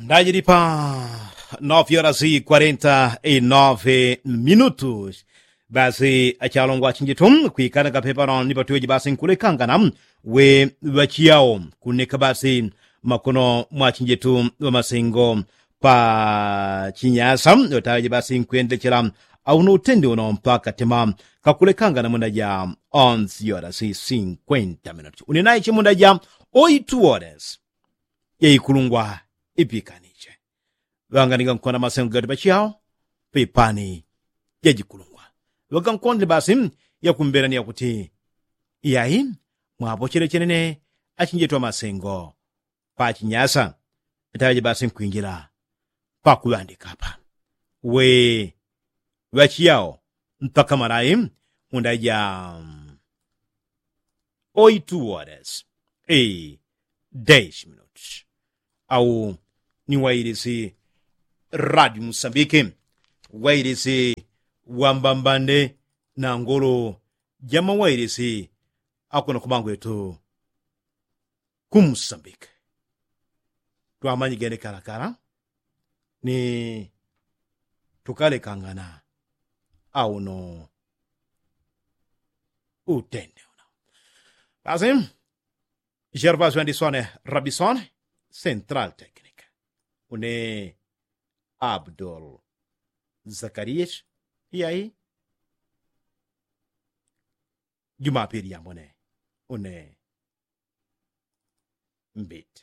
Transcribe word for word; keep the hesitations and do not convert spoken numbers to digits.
Ndajili pa nove horas i kwarenta i nove minutos. Basi achalongwa achinjitu kwikana kapepa no ni patuweji basi nkulekangana we ŵachiyao kuneka basi makono mwa achinjitu ŵamasengo pa chinyasa ŵataweji basi nkwendechela auno utende uno mpaka tema kakulekangana munda ja onzi horas i sinkwenta minutos unenaye chimunda ja oitu horas yaikulungwa ipikaniche. Ŵanganiga nkona masengo gati pachiyao pipani jajikulungwa ŵagankondele basi yakumbelani yakuti iyai mwapochele chenene achinjetu amasengo pachinyasa itaŵeje basi nkwinjila pakuŵandika apa we ŵachiyao mpaka malai munda ja oitu horas e dez minutos. Au ni wailisi radio musambike wailisi wambambande na ngolo jama wailisi akuna kumangwetu kumusambike. Twamanyigene kalakala ni tukalekangana auno utende uno basi. Gervasio andisone rabisone central technic une abdul zakarias iyai jumapili yambone une mbite.